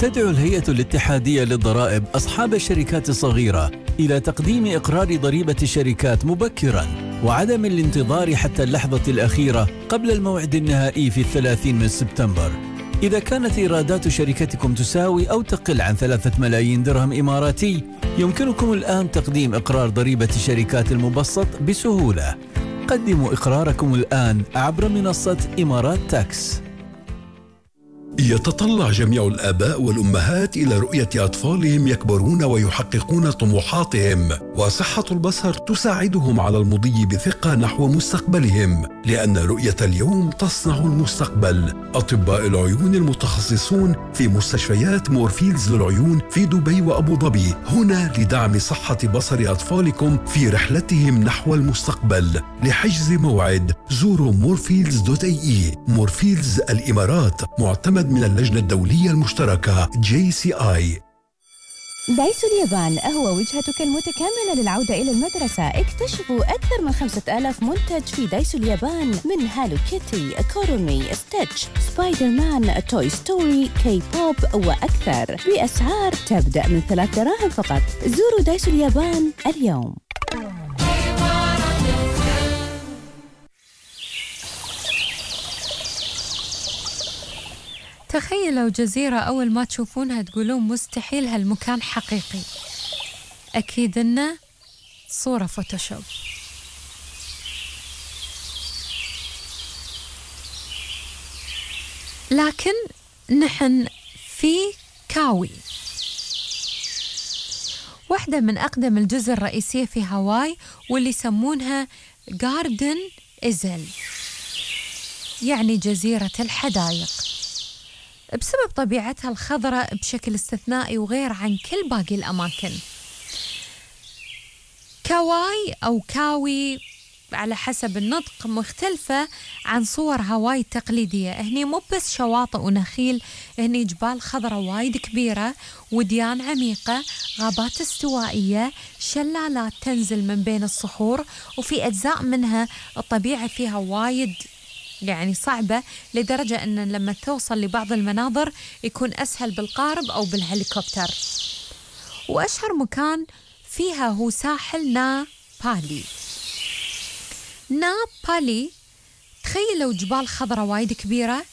تدعو الهيئة الاتحادية للضرائب أصحاب الشركات الصغيرة إلى تقديم إقرار ضريبة الشركات مبكراً وعدم الانتظار حتى اللحظة الأخيرة قبل الموعد النهائي في 30 من سبتمبر. إذا كانت إيرادات شركتكم تساوي أو تقل عن 3 ملايين درهم إماراتي، يمكنكم الآن تقديم إقرار ضريبة الشركات المبسط بسهولة. قدموا إقراركم الآن عبر منصة إمارات تاكس. يتطلع جميع الآباء والأمهات إلى رؤية أطفالهم يكبرون ويحققون طموحاتهم، وصحة البصر تساعدهم على المضي بثقة نحو مستقبلهم، لأن رؤية اليوم تصنع المستقبل. أطباء العيون المتخصصون في مستشفيات مورفيلز للعيون في دبي وأبو ظبي هنا لدعم صحة بصر أطفالكم في رحلتهم نحو المستقبل. لحجز موعد زوروا مورفيلز.ae. مورفيلز الإمارات، معتمد من اللجنة الدولية المشتركة JCI. دايسو اليابان هو وجهتك المتكاملة للعودة إلى المدرسة. اكتشفوا أكثر من 5000 منتج في دايسو اليابان، من هالو كيتي، كورومي، ستيتش، سبايدر مان، توي ستوري، كي بوب وأكثر، بأسعار تبدأ من 3 دراهم فقط. زوروا دايسو اليابان اليوم. تخيلوا جزيرة أول ما تشوفونها تقولون مستحيل هالمكان حقيقي. أكيد إنه صورة فوتوشوب. لكن نحن في كاوي، واحدة من أقدم الجزر الرئيسية في هاواي، واللي يسمونها جاردن إزل، يعني جزيرة الحدائق، بسبب طبيعتها الخضراء بشكل استثنائي وغير عن كل باقي الأماكن. كاواي أو كاوي على حسب النطق مختلفة عن صور هاواي التقليدية. هني مو بس شواطئ ونخيل، هني جبال خضراء وايد كبيرة، وديان عميقة، غابات استوائية، شلالات تنزل من بين الصخور، وفي أجزاء منها الطبيعة فيها وايد يعني صعبة، لدرجة أن لما توصل لبعض المناظر يكون أسهل بالقارب أو بالهليكوبتر. وأشهر مكان فيها هو ساحل نابالي. نابالي تخيلوا جبال خضراء وايد كبيرة،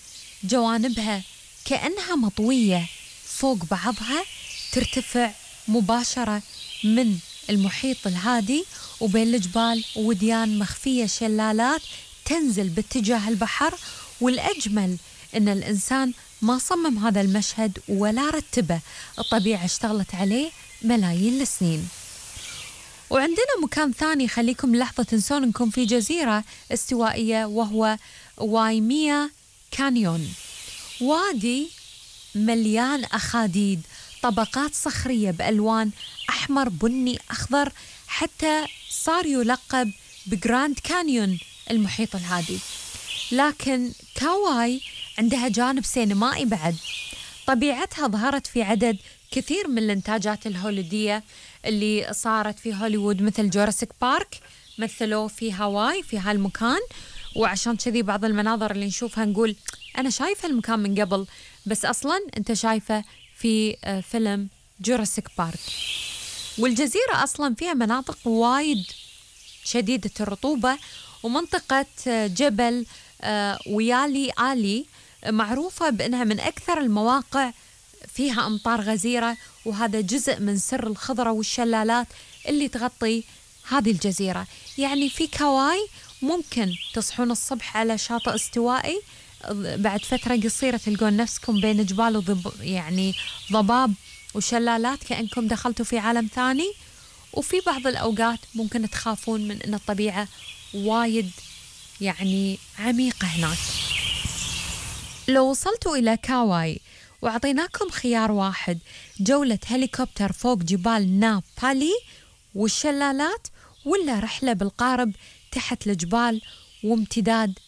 جوانبها كأنها مطوية فوق بعضها، ترتفع مباشرة من المحيط الهادي، وبين الجبال وديان مخفية شلالات تنزل باتجاه البحر. والأجمل أن الإنسان ما صمم هذا المشهد ولا رتبه، الطبيعة اشتغلت عليه ملايين السنين. وعندنا مكان ثاني خليكم لحظة تنسون أنكم في جزيرة استوائية، وهو وايميا كانيون، وادي مليان أخاديد، طبقات صخرية بألوان أحمر، بني، أخضر، حتى صار يلقب بجراند كانيون المحيط الهادي. لكن كاواي عندها جانب سينمائي بعد. طبيعتها ظهرت في عدد كثير من الإنتاجات الهوليدية اللي صارت في هوليوود، مثل جوراسيك بارك مثلوه في هاواي في هالمكان. وعشان كذي بعض المناظر اللي نشوفها نقول أنا شايفة المكان من قبل، بس أصلاً أنت شايفة في فيلم جوراسيك بارك. والجزيرة أصلاً فيها مناطق وايد شديدة الرطوبة، ومنطقة جبل ويالي آلي معروفة بأنها من أكثر المواقع فيها أمطار غزيرة، وهذا جزء من سر الخضرة والشلالات اللي تغطي هذه الجزيرة. يعني في كاواي ممكن تصحون الصبح على شاطئ استوائي، بعد فترة قصيرة تلقون نفسكم بين جبال يعني ضباب وشلالات، كأنكم دخلتوا في عالم ثاني. وفي بعض الأوقات ممكن تخافون من أن الطبيعة وايد يعني عميقة هناك. لو وصلتوا إلى كاواي وعطيناكم خيار واحد، جولة هليكوبتر فوق جبال نابالي والشلالات، ولا رحلة بالقارب تحت الجبال وامتداد